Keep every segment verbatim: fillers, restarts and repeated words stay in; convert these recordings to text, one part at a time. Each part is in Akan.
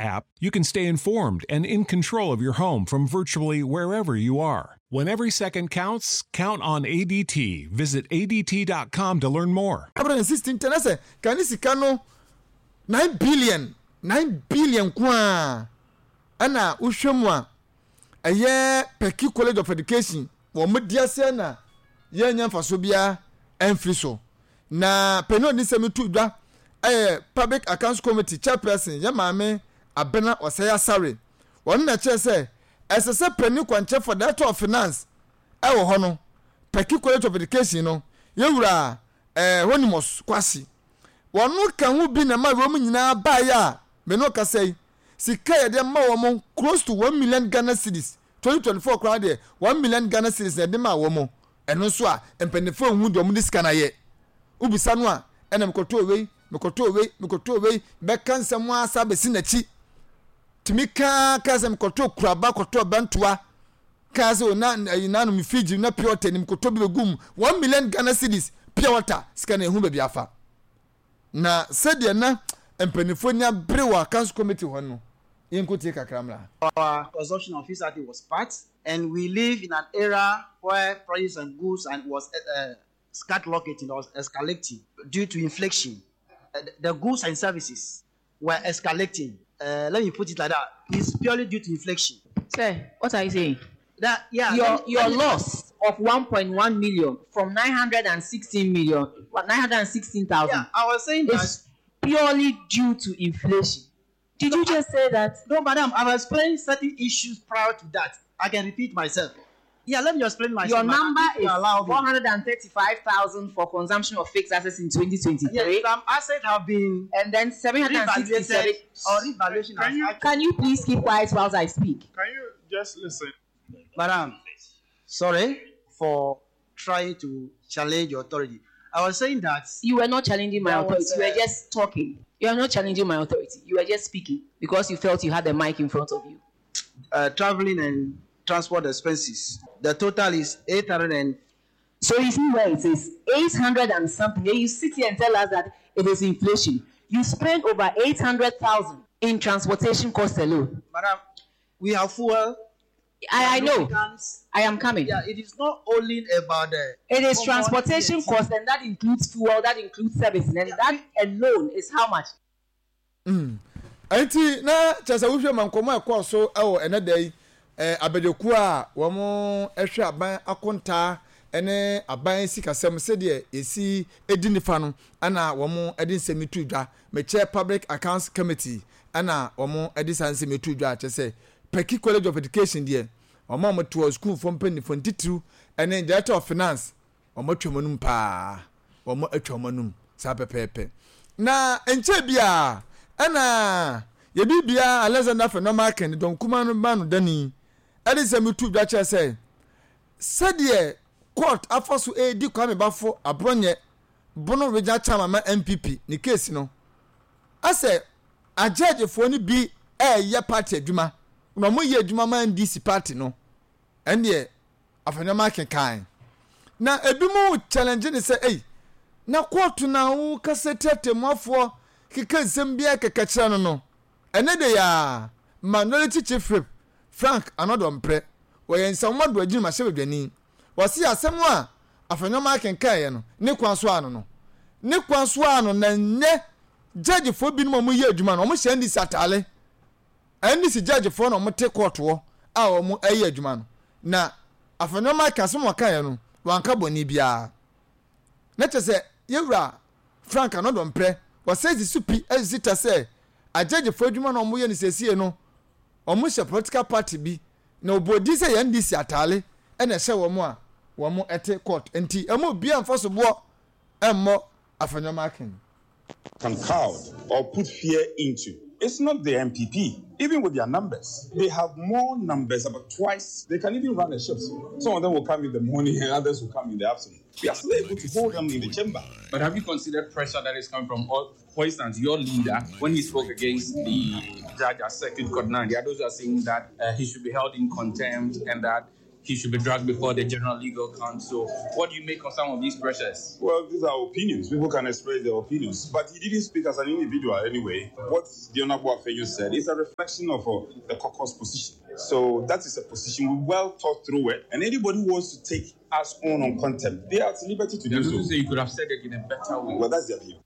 app, you can stay informed and in control of your home from virtually wherever you are. When every second counts, count on A D T. Visit A D T dot com to learn more. Sixteen ten sɛ ka ne sika no nine billion, nine billion ko a ɛna wohwɛ mu a ɛyɛ Peki College of Education wɔn mo di aseɛ na yɛnyɛ mfaso biara ɛmfiri so. Na panyin a ɔde nsɛm to dwa ɛyɛ Public Accounts Committee chairperson, yɛ Maame Abena Ɔsɛe Asare. Wɔn na kyerɛ sɛ ɛsɛ sɛ panyin kwankyerɛfo, Director of Finance ɛwɔ hɔ no, Peki College of Education no, yɛwura ɛɛ Honimus Kwasi, wɔn ka ho bi na ma wɔn nyinaa baeɛ a mene ɔkasa yi, sika yɛde ma wɔn close to one million Ghana cedis. Twenty twenty four koraa deɛ, one million Ghana cedis na yɛde ma wɔn. Ɛno nso a mpanimfoɔ ehu deɛ wɔn de sika na yɛ wobisa no a, ɛna mekɔtɔ wei, mekɔtɔ wei, mekɔtɔ wei, bɛka nsɛm asa bɛsi n'akyi tumi kaa kaa sɛ mekɔtɔ kuraba, kɔtɔ bɛntoa, kaa sɛ na ɛyi nanom fridge na pure water ni mekɔtɔ bi bɛgu mu, one million Ghana cedis pure water. Sika na ehu baabi afa na sɛdeɛ na mpanimfoɔ ni abere wɔ Accounts Committee hɔ no, yɛn tie kakra mmra. Our consumption of fixed was part, and we live in an era where prices and goods and was uh, skyrocketing or escalating due to inflation. Uh, the goods and services were escalating. Uh, let me put it like that. It's purely due to inflation. Sir, what are you saying? That yeah. Your let me- your let me- loss of one point one million from nine hundred sixteen million, what, nine hundred sixteen thousand Yeah, I was saying that. is purely due to inflation. Did you just say that? No, madam, I've explained certain issues prior to that. I can repeat myself. Yeah, let me explain myself, Your madam, number if you is allow me. four hundred thirty-five thousand for consumption of fixed assets in twenty twenty-three. Yes, some assets have been And then seven hundred sixty-seven. revaluated or revaluation Can has you- actually- Can you please keep quiet whilst I speak? Can you just listen? Madam, sorry for trying to challenge your authority. I was saying that You were not challenging my There authority. was, You were uh, just talking. You are not challenging my authority. You were just speaking because you felt you had the mic in front of you. uh, traveling and transport expenses. The total is eight hundred and So you see where it is eight hundred and something. Then you sit here and tell us that it is inflation. You spend over eight hundred thousand in transportation costs alone. Madam, we have fuel. I, I know. Lubricants. I am coming. Yeah, it is not only about the It is common transportation V A T. cost, and that includes fuel, that includes service, and that alone is how much? Nti na kyerɛ sɛ wohwɛ ma nkɔmɔ a ɛkɔɔ so ɛwɔ ɛnɛ da yi, ɛɛ abadwakuo a wɔn ɛhwɛ aban akontaa ɛne aban sikasɛm sɛdeɛ esi edi nifa no, ɛna wɔn ɛde nsɛm yi to dwa. Mekyɛ Public Accounts Committee ɛna wɔn ɛde saa nsɛm yi to dwa, kyerɛ sɛ Peki College of Education deɛ, wɔn a wɔte wɔ sukuufoɔ mpanimfoɔ ntitiriw ɛne Director of Finance, wɔn atwa wɔn anum paa, wɔn atwa wɔn anum saa pɛpɛɛpɛ. Na nkyɛn bi a ɛna yɛbi bia Alexander Afenyo-Markin dɔm kuma no ba no dani ɛde nsɛm tu dwa kyerɛ sɛ sɛdeɛ court afa so edi Kwame Bafo Aborɔnyɛ, Bono Regional Chairman ma N P P, ne case no, asɛ agyɛgyefoɔ no bi ɛɛyɛ party adwuma na wɔn yɛ adwuma ma N D C party no. Ɛndeɛ Afenyo-Markin kan na ebi mu challenge ne sɛ, ɛyi na kóòtù na wo kasa tiatemuafoɔ keka nsɛm biara kɛkɛ kyerɛ no no ɛne de yaa Minority Chief Whip Frank Annoh-Dompreh, wɔyɛ Nsawam Adoagyiri ahyɛbadwani, wɔsi asɛm a Afenyo-Markin kaeɛ no ne kwan so ano no ne kwan so ano na nyɛ judgefoɔ binom a wɔyɛ adwuma no, wɔn hyɛ N D C ataale. N D C judgefoɔ na wɔte court hɔ a wɔn ɛyɛ adwuma no, na Afenyo-Markin asɛm a wɔkaeɛ no, wɔanka bɔnne biara. Na kyerɛ sɛ yɛwura Frank Annoh-Dompreh wɔsɛ sisi pi ɛsisi ta sɛ agyagyefoɔ adwuma na wɔyɛ no siesie no, wɔn hyɛ political party bi na ɔbɔ di sɛ yɛn N D C ataale ɛna ɛhyɛ wɔn a wɔn ɛte court, nti ɛmo obiara nfa so boɔ ɛmmɔ Afenyo-Markin. Can cowed or put fear into. It's not the N P P, even with their numbers. They have more numbers, about twice. They can even run a shift. Some of them will come in the morning and others will come in the afternoon. We are still able to hold them in the chamber. But have you considered pressure that is coming from, all, for instance, your leader, when he spoke against the judge at Circuit Court nine, the others are saying that uh, he should be held in contempt and that he should be dragged before the General Legal Council. What do you make of some of these pressures? Well, these are opinions. People can express their opinions. But he didn't speak as an individual anyway. What the Honorable Afenyo said is a reflection of uh, the caucus position. So that is a position we well thought through it. And anybody who wants to take us on on contempt, they are at liberty to do so. Say you could have said it in a better way. Well, that's their view.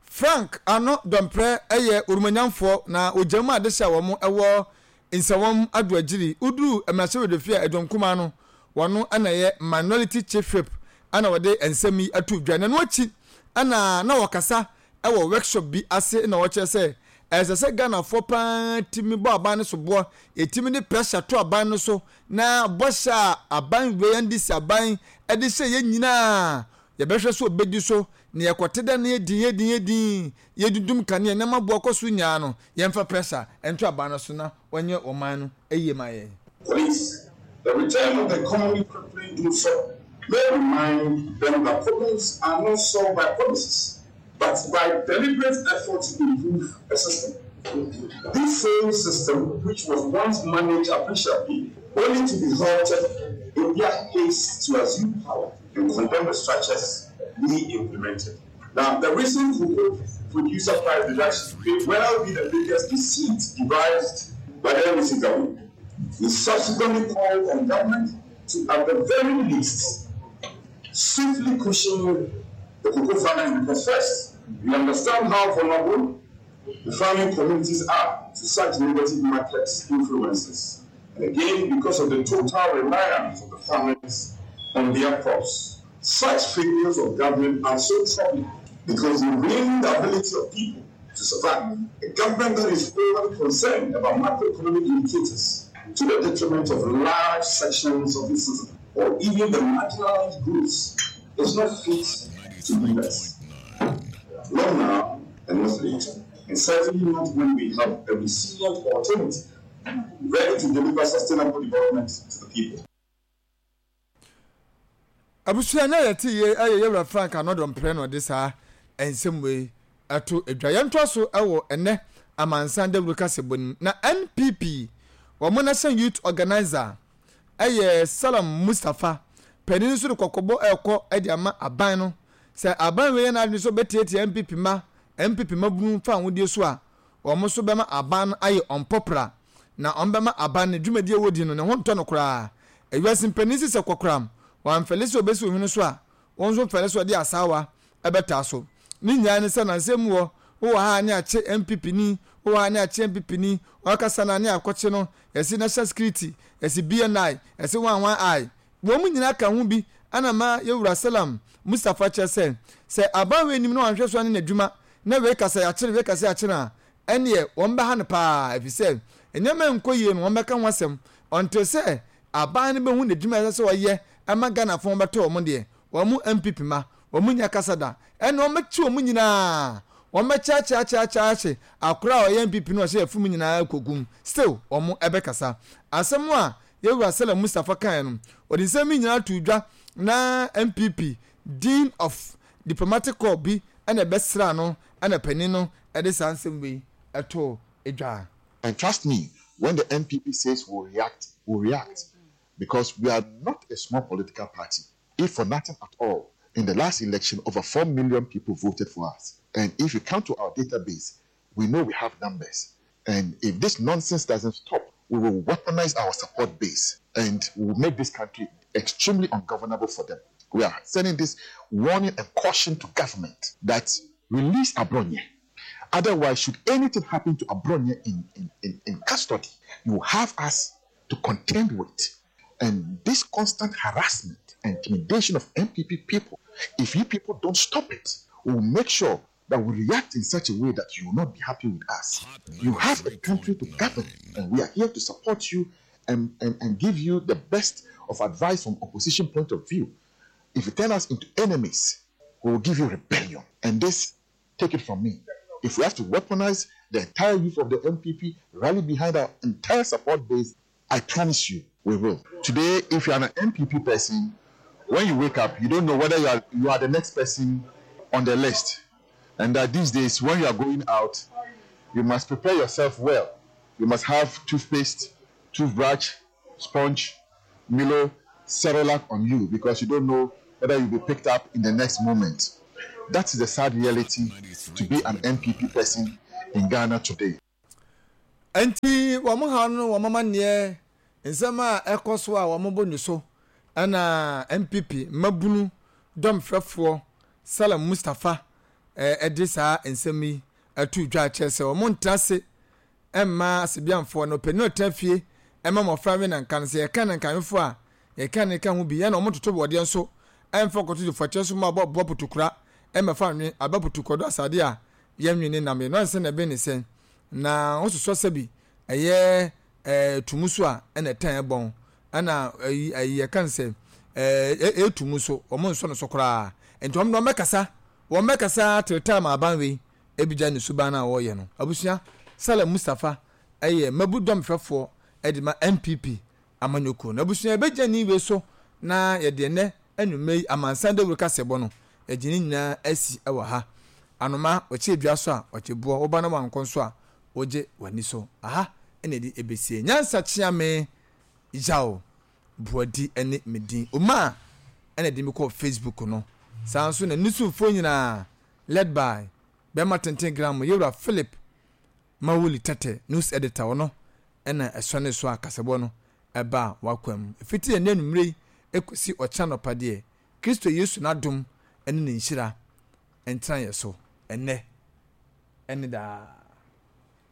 Frank Annoh-Dompreh ɛyɛ orumanyamfoɔ na ogyam a adehyɛ a wɔn ɛwɔ Nsawam Adoagyiri uduru mmarahyɛbadwafie a ɛdɔm kumaa no wɔn ɛna yɛ minority chief whip ɛna wɔde nsɛm yi ato dwa. N'ano akyi ɛna na wɔkasa ɛwɔ workshop bi ase na wɔkyerɛ sɛ ɛsɛ sɛ Ghanafoɔ paa timi bɔ aban no so boɔ, ɛtumi de pressure to aban no so na bɔhyɛ a aban wei N D C aban ɛde hyɛ yɛn nyinaa yɛbɛhwɛ so obɛdi so na yɛkɔte dɛ no yɛdin yɛdin yɛdin yɛdudum kanea nneɛma boɔ kɔ so nyinaa no, yɛmfa pressure ɛnto aban no so na wɔnyɛ ɔman no ɛyie ma yɛn. Police, the return of the commonly crippling dumsor may remind them that problems are not solved by promises, but by deliberate effort to improve a system. This same system, which was once managed appreciably, only to be halted in their haste to assume power and condemn the structures we implemented. Now, the recent cocoa producer price reduction may well be the biggest deceit devised by the N D C government. We subsequently called on government to, at the very least, swiftly cushion the cocoa farmers because first, we understand how vulnerable the farming communities are to such negative market influences. And again, because of the total reliance of the farmers on their crops. Such failures of government are so troubling because they ruin the ability of people to survive. A government that is overly concerned about macroeconomic indicators to the detriment of large sections of the citizens or even the marginalized groups is not fit to lead us. Not now and not later. And certainly not when we have a resilient alternative ready to deliver sustainable development to the people. Abusua na yɛte yie ɛyɛ yɛwura Frank Annoh-Dompreh na ɔde saa nsɛm wei ɛto adwa. Yɛntoa so ɛwɔ ɛnɛ amansan dawuro kasɛbɔ nim na N P P wɔn National Youth Organizer ɛyɛ Salam Mustapha panin nso de kɔkɔbɔ ɛrekɔ ɛde ama aban no sɛ aban wei yɛ n'adwene so bɛtiatia N P P ma N P P ma bunu fa ahodie so a, wɔn nso bɛma aban no ayɛ ɔmpɔpra na wɔn bɛma aban no dwumadie wɔ no ne ho ntɔ no koraa. Ewiase mpanin sisɛ kɔkoram wɔamfɛle sɛ obɛsi ohwene so a, wɔn nso mfɛle sɛ ɔde asaawa ɛbɛtaa so. Ne nyinaa ne sɛ nansɛm mu wɔ wowɔ ha ne akye N P P ni, wowɔ ha ne akye N P P ni, wɔakasa na ne akɔkye no yɛsi National Security, yɛsi B N I, yɛsi one one i wɔn mu nyinaa ka ho bi. Ana ma yɛwura Salam Mustapha kyerɛ sɛ sɛ aban wei anim na wɔanhwɛ so ne n'adwuma na wei kasa yɛakyere, wei kasa yɛakyere a, ɛneɛ wɔn bɛha no paa ɛfiri sɛ nneɛma nkɔ yie no, wɔn bɛka ho asɛm ɔnte sɛ aban no bɛhu n'adwuma ɛsɛ sɛ ɔyɛ ɛma Ghanafoɔ bɛtɔ wɔn deɛ wɔn mu N P P ma wɔn mu nya kasa da ɛna wɔn bɛkyi wɔn nyinaa, wɔn bɛkyeakyeakyeakye akora a ɔyɛ N P P no ɔhyɛ yɛfum nyinaa kɔgum still wɔn ɛbɛkasa. Asɛm a yɛwura Salam Mustapha kan no, ɔde nsɛm yi nyinaa to dwa na N P P Dean of Diplomatic Corps bi ɛna ɛbɛsra no ɛna panin no ɛde saa nsɛm wei ɛto dwa. And trust me, when the N P P says we'll react, we'll react. Because we are not a small political party. If for nothing at all, in the last election, over four million people voted for us. And if you come to our database, we know we have numbers. And if this nonsense doesn't stop, we will weaponize our support base and we will make this country extremely ungovernable for them. We are sending this warning and caution to government that release Abronye. Otherwise, should anything happen to Abronye in, in, in, in custody, you have us to contend with. And this constant harassment and intimidation of N P P people, if you people don't stop it, we will make sure that we react in such a way that you will not be happy with us. You have a country to govern, and we are here to support you and, and, and give you the best of advice from opposition point of view. If you turn us into enemies, we will give you rebellion. And this, take it from me, if we have to weaponize the entire youth of the N P P, rally behind our entire support base, I promise you, we will. Today, if you are an N P P person, when you wake up, you don't know whether you are, you are the next person on the list. And that these days, when you are going out, you must prepare yourself well. You must have toothpaste, toothbrush, sponge, Milo Cerelac on you because you don't know whether you'll be picked up in the next moment. That is the sad reality to be an N P P person in Ghana today. Nti wɔn ha no, wɔn amanneɛ nsɛm a ɛkɔ so a wɔn bɔ ne so, ɛna N P P mmabunu dɔmfrɛfoɔ Salam Mustapha ɛde saa nsɛm yi ɛto dwa kyerɛ sɛ wɔn ntena ase ɛmma asebiamfoɔ no panin ɔtena fie ɛma mmɔfra we nanka no sɛ yɛka ne nkanwefoɔ a yɛka ne ka ho bi, ɛna wɔn toto bɔdeɛ nso ɛmfa kɔto de so mu abɔ boɔ putukura ɛmɛfa nwe aba putukɔdo asade a yɛnwe ne nam yɛ no ansɛ na ɛbɛn ne sɛn na wososɔ sɛ bi ɛyɛ ɛɛ tumu so a ɛna ɛtɛn ɛbɔn ɛna ɛyi ɛyi yɛka no sɛ ɛɛ ɛtumu so, wɔn nsɔ no so koraa. Nti wɔn wɔn bɛkasa wɔn bɛkasa till time aban wei ebigya ne suban a wɔreyɛ no. Abusua, Salam Mustapha ɛyɛ mmabu dɔmfɛfoɔ ɛde ma N P P amanyɔkuo na abusua ebɛgya ne wei so na yɛde ɛnɛ anwummerɛ yi amansan dawuro kasɛbɔ no yɛgye ne nyinaa asi ɛwɔ ha. Anoma ɔkyɛ dua so a ɔkyɛ boɔ woba na wankɔ nso a wogye w'ani so aha, ɛna ɛde ebesie. Nyansa Kyeame Yaw Buadi ɛne me din oma ɛna ɛde mi kɔ Facebook no saa nso na nisumfoɔ nyinaa led by bɛrima tenten gram yɛwura Philip Mawuli Tɛtɛ, news editor, ɔno ɛna ɛsɔ ne so a kasɛbɔ no ɛba a wakɔ mu efiti yɛn anumere yi ekosi ɔkyena nɔpa deɛ, Kristo Yesu n'adom ɛne ne nhyira ntena yɛ so ɛnɛ ɛne daa.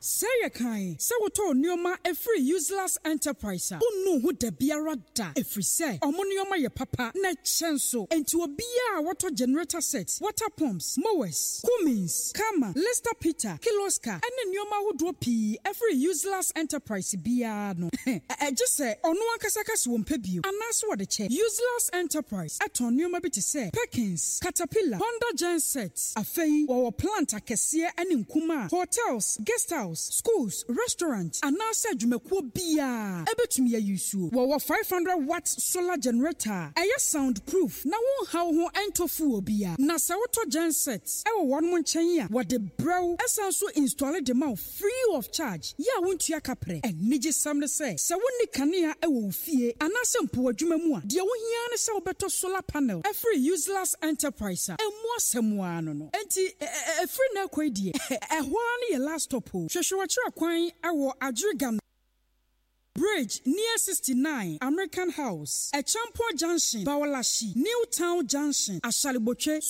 Sɛ yɛ kan sɛ wotɔɔ nneɛma ɛfiri Useless Enterprise a, wonnu ho da biara da, ɛfiri sɛ ɔmo nneɛma yɛ papa na ɛkyɛ nso. Enti obiara a wɔtɔ generator set, water pumps, mowers, Cummins, Kama, Lester Peter, Kirloskar ɛne nneɛma ahodoɔ pii ɛfiri Useless Enterprise biara no, ɛgye sɛ ɔno ankasa ka sɛ wɔmpɛ bio anaasɛ wɔde kyɛ. Useless Enterprise ɛtɔn nneɛma bi te sɛ Perkins, Caterpillar, Honda genset. Afei wɔwɔ plant akɛseɛ ne nkuma a hotels, guest house, schools, restaurant anaasɛ adwumakuo biara ɛbɛtumi ayi suo. Wɔwɔ five hundred watt solar generator a ɛyɛ sound proof na wonhaw ho ɛntɔ fuel bia. Na sɛ wotɔ genset ɛwɔ wɔn nkyɛn a, wɔde brɛw ɛsan so install de ma wo free of charge yɛ a wontua kaprɛ. Anigye sɛm ne sɛ, sɛ wonni kanea ɛwɔ wo fie anaasɛ mpo w'adwuma mu a, deɛ wohia ne sɛ wobɛtɔ solar panel ɛfiri Useless Enterprise a ɛmu asɛm ara no no Enti ɛfiri na ɛkɔ yi deɛ, ɛhɔ ara no yɛ last stop o. Hwehwɛ wɔkyerɛ kwan ɛwɔ Adweriga Bridge near sixty-nine American House, Echampo Junction, Bawalashi, New Town Junction, Ashalibotwe.